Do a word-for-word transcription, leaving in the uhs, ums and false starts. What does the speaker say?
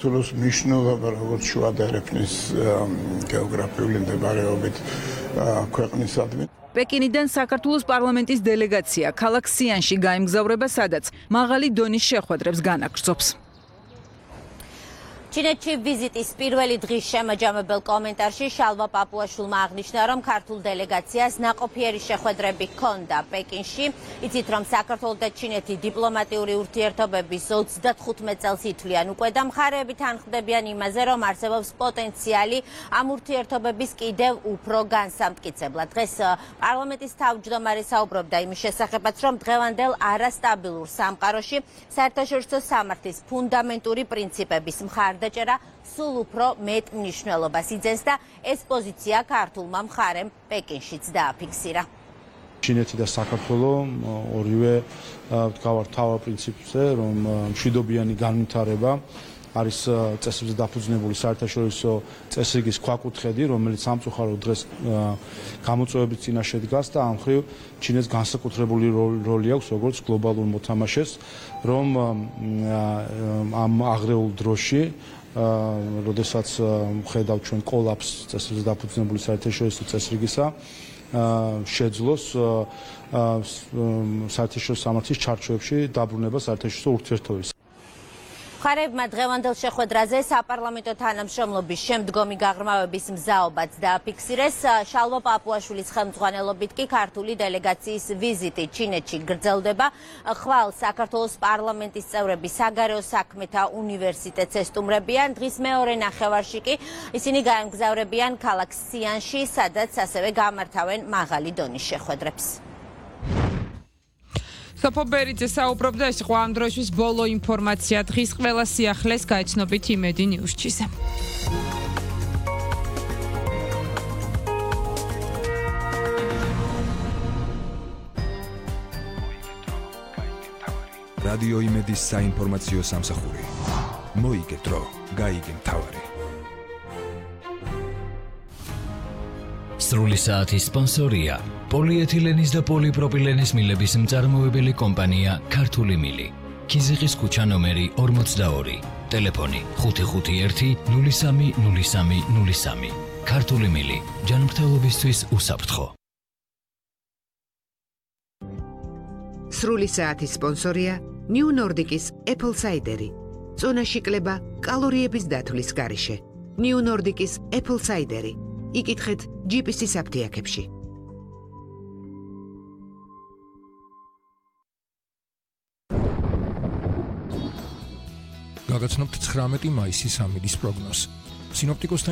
საქართველოს მნიშვნელობა როგორც შუა და ერეფნის გეოგრაფიული მდებარეობით ქვეყნისადმი. პეკინიდან საქართველოს პარლამენტის დელეგაცია ქალაქ სიანში გაემგზავრება, სადაც მაღალი დონის შეხვედრებს განაგრძობს. ჩინეთში ვიზიტის პირველი დღის შემაჯამებელ კომენტარში შალვა პაპუაშვილმა აღნიშნა, რომ ქართულ დელეგაციას ნაყოფიერი შეხვედრები ჰქონდა პეკინში. იცით, რომ საქართველო და ჩინეთი დიპლომატიური ურთიერთობების ოცდახუთმეტ წელს ითვლიან უკვე და მხარეები თანხმდებიან იმაზე, რომ არსებობს პოტენციალი ამ ურთიერთობების კიდევ უფრო განსამტკიცებლად. დღეს პარლამენტის თავმჯდომარე საუბრობდა იმის შესახებაც, რომ დღევანდელ არასტაბილურ სამყაროში საერთაშორისო სამართლის ფუნდამენტური პრინციპების მხარ დაჭერა სულ უფრო მეტ მნიშვნელობას იძენს და ეს პოზიცია ქართულმა მხარემ პეკინშიც დააფიქსირა. ჩინეთი და საქართველო ორივე ვდგავართ თავარ პრინციპზე, რომ მშვიდობიანი განვითარება არის წესებზე დაფუძნებული საერთაშორისო წესრიგის ქვაკუთხედი, რომელიც სამწუხაროდ დღეს გამოწვევების წინაშე დგას და ამ მხრივ ჩინეთს განსაკუთრებული როლი აქვს როგორც გლობალურ მოთამაშეს, რომ ამ აღრეულ დროში როდესაც ვხედავთ ჩვენ კოლაფსს წესრიგზე დაფუძნებული საერთაშორისო წესრიგისა, შეძლოს საერთაშორისო სამართლის ჩარჩოებში დაბრუნება საერთაშორისო ურთიერთობების. მხარეებმა დღევანდელ შეხვედრაზე საპარლამენტო თანამშრომლობის შემდგომი გაღრმავების მზაობაც დააფიქსირეს. შალვა პაპუაშვილის ხელმძღვანელობით კი ქართული დელეგაციის ვიზიტი ჩინეთში გრძელდება. ხვალ საქართველოს პარლამენტის წევრები საგარეო საქმეთა უნივერსიტეტს ესტუმრებიან. დღის მეორე ნახევარში კი ისინი გაემგზავრებიან ქალაქ სიანში, სადაც ასევე გამართავენ მაღალი დონის შეხვედრებს. სოფო ბერიძე საუბრობდა, ეს იყო ამ დროისთვის ბოლო ინფორმაცია. დღის ყველა სიახლეს გაიცნობით იმედი ნიუსჩიზე. რადიო იმედის საინფორმაციო სამსახური. მოიგე დრო, გაიგე მთავარი. სრული საათის სპონსორია პოლიეთილენის და პოლიპროპილენის მილების მწარმოებელი კომპანია ქართული მილი. ქიზიყის ქუჩა ნომერი ორმოცდაორი. ტელეფონი ხუთი ხუთი ერთი ნული სამი ნული სამი ნული სამი. ქართული მილი. ჯანმრთელობისთვის უსაფრთხო. სრული საათის სპონსორია ნიუ ნორდიკის Apple Cider. წონაში კლება კალორიების დათვლის გარეშე. ნიუ ნორდიკის Apple Cider. იკითხეთ ჯი პი სი საფთიაქებში. გაგაცნობთ ცხრამეტი მაისის ამინდის პროგნოზს. სინოპტიკოსთა